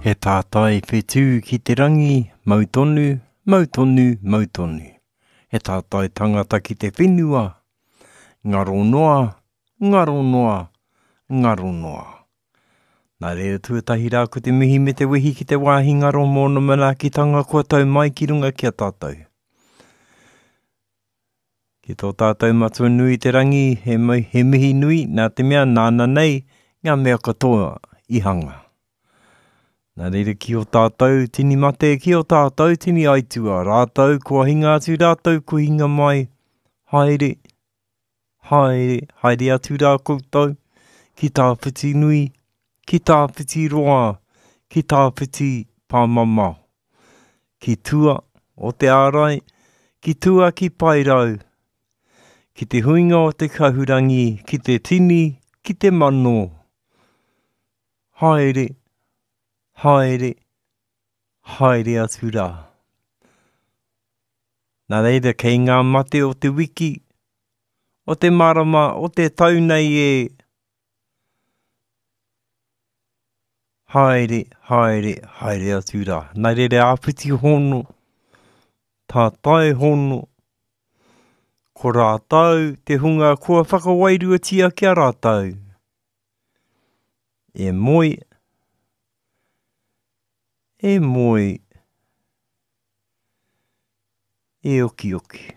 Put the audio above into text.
He tātai whetū ki te rangi, mau tonu, mau tonu, mau tonu. He tātai tangata ki te whenua, ngaro noa, ngaro noa, ngaro noa. Nā reira tuatahi rā ko te mihi me te wehi ki te wāhi ngaro mōna manaakitanga kua tau mai ki runga ki a tātou. Ki tō tātou Matua nui i te rangi, he, he mihi nui nā te mea nāna nei ngā mea katoa i hanga. Nā reira ki o tātou tini mate, ki o tātou tini aitua, rātou kua hinga atu, rātou kua hinga mai, haere, haere, haere atu rā koutou, ki tāwhiti nui, ki tāwhiti roa, ki tāwhiti pāmamao. Ki tua o te ārai, ki tua ki Paerau, ki te huinga o te kahurangi, ki te tini, ki te mano. Haere, haere, haere atu rā. Nā reira kei ngā mate o te wiki, o te marama, o te tau nei e, Haere, haere, haere atu rā. Nā reira āpiti hono, tātai hono, ko rātou te hunga kua whakawairuatia ki a rātou. E moe, e moe, e okioki.